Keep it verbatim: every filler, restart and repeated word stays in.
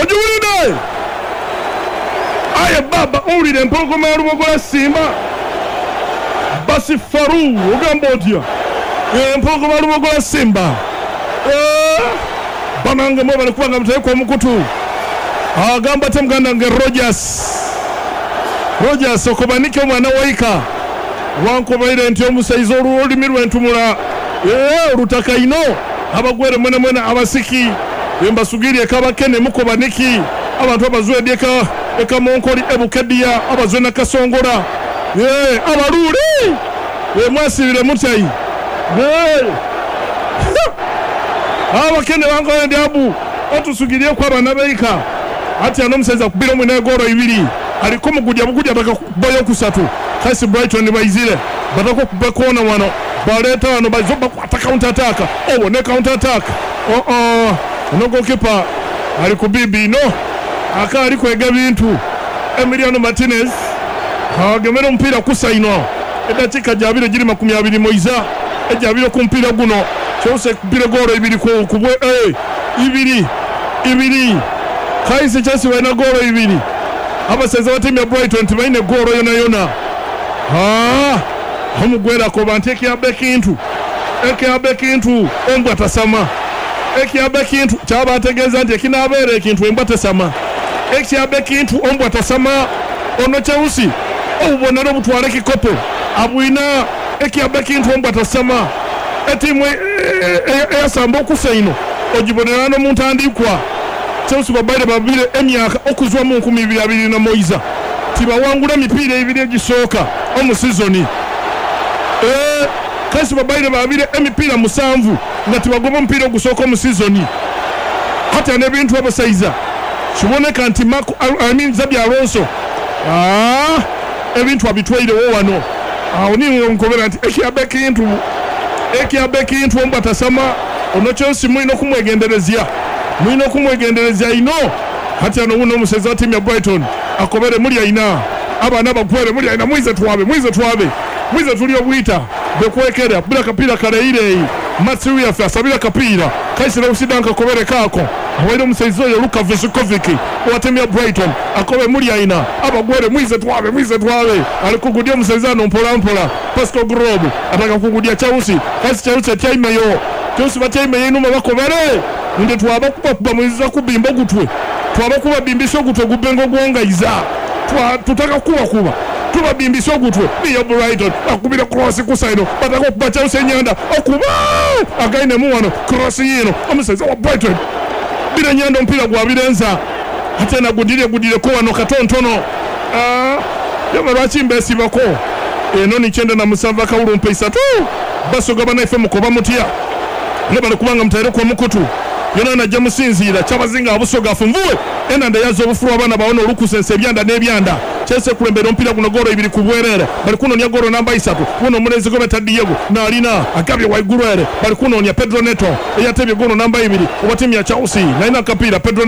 Ogiwulidde? Aye baba, owulira empologoma ya Lubogola Simba Basi Faru, ogamba otya? Empologoma ya Lubogola Simba. Banange mwe bali kubanga mutayeko omukutu. Agamba ate muganda wange Rogers, Rogers okobanike omwana waika wankobaire nti omusaiza olulimi lwentumula olutaka ino abagwere mwene mwene abasiki embasugiri ekabakene mukobaniki abantu abazwedi eka ekamonkoli ebukedia abazwe nakasongora abalule mwasibire mutayi abakene wankobaire abu otusugiriye kwa abana beika ati ano omusaiza kubira omwine goro ibiri aliko mugudya bugudya bakakubayo kusatu kasi Brighton baizire batako kubakona wano baleta wano bazoba kwata counter attack obo ne counter attack oh oh no goalkeeper ali kubibi no aka ali kwega bintu Emiliano Martinez agemera omupiira kusaino edakika jabire jiri makumi abiri moiza ejabire ku mpira guno Chelsea kubire goro ibiri ku kubwe eh ibiri ibiri kaisi Chelsea balina goro ibiri abaseza batimu ya Brighton tibaine goro yona yona. Ah, omugwera koba nti ekiyaba ekintu ekiyaba ekintu embwa tasama ekiyaba ekintu kyaba ategeeza nti ekinabeera ekintu embwa tesama ekiyaba ekintu ombwa tasama ono Chelsea obubonero obutwala ekikopo abwina ekiyaba ekintu ombwa tasama etimu eyasamba okusa ino ogibonera n'omuntandikwa Chelsea babaire babire emyaka okuzwa mu nkumi ibiri abiri na moiza tibawangula emipiira ebiri egisooka omu sizoni eh kasi babaire babire emipiira musanvu nga tibagoba omupiira ogusooka omu sizoni hata n'ebintu abasaiza kiboneka nti Marco I mean Xabi Alonso ah ebintu abitwairewo wano awo niwo nkobera nti ekiyaba ekintu ekiyaba ekintu ombwa tasama ono Chelsea mulina okumwegenderezya mulina okumwegenderezya ino hati ano wuno omusaiza wa tiimu ya Brighton akobere muli aina abaana bagwere muli aina mwize twabe mwize twabe mwize tuli obwita bekwekera bila kapira kaleire Matthew yafe asabira kapira kaisira usidanka kobere kako awaire omusaiza oyo Luka Vuskovic wa tiimu ya Brighton akobe muli aina abagwere mwize twabe mwize twabe alikugudia omusaiza ano mpola mpola Pascal Grob ataka kugudia Chelsea kasi Chelsea tyaimeyo Chelsea batyaimeyo inuma bakobere nde twaba kuba kuba mwiza kubimba ogutwe twaba kuba bimbisa ogutwe gubengo gwongaiza twa tutaka kuba kuba tuba bimbisa ogutwe niyo Brighton akubira cross kusaino bataka kuba Chelsea nyanda okuba againe mu wano cross yino omusaiza wa Brighton bila nyanda mpira gwa birenza ate na gudire gudire ko wano katontono ah yama lwaki bako eno ni chenda na musanvu akawulu mpesa tu basoga banaife mukoba mutya nebale kubanga mutaire kwa mukutu yona najja musinziira kyabazinga abusoga afunvuwe enanda yazo obufulu abaana bawona olukusensa ebyanda n'ebyanda Chelsea kulembera omupiira guno goro ibiri ku bwerere bali kunoonya goro namba isatu guno omulenzi gwe beta Diego n'alina agabye waigulu ere bali kunoonya Pedro Neto eyatebye goro namba ibiri owa ttiimu ya Chelsea n'alina akapiira Pedro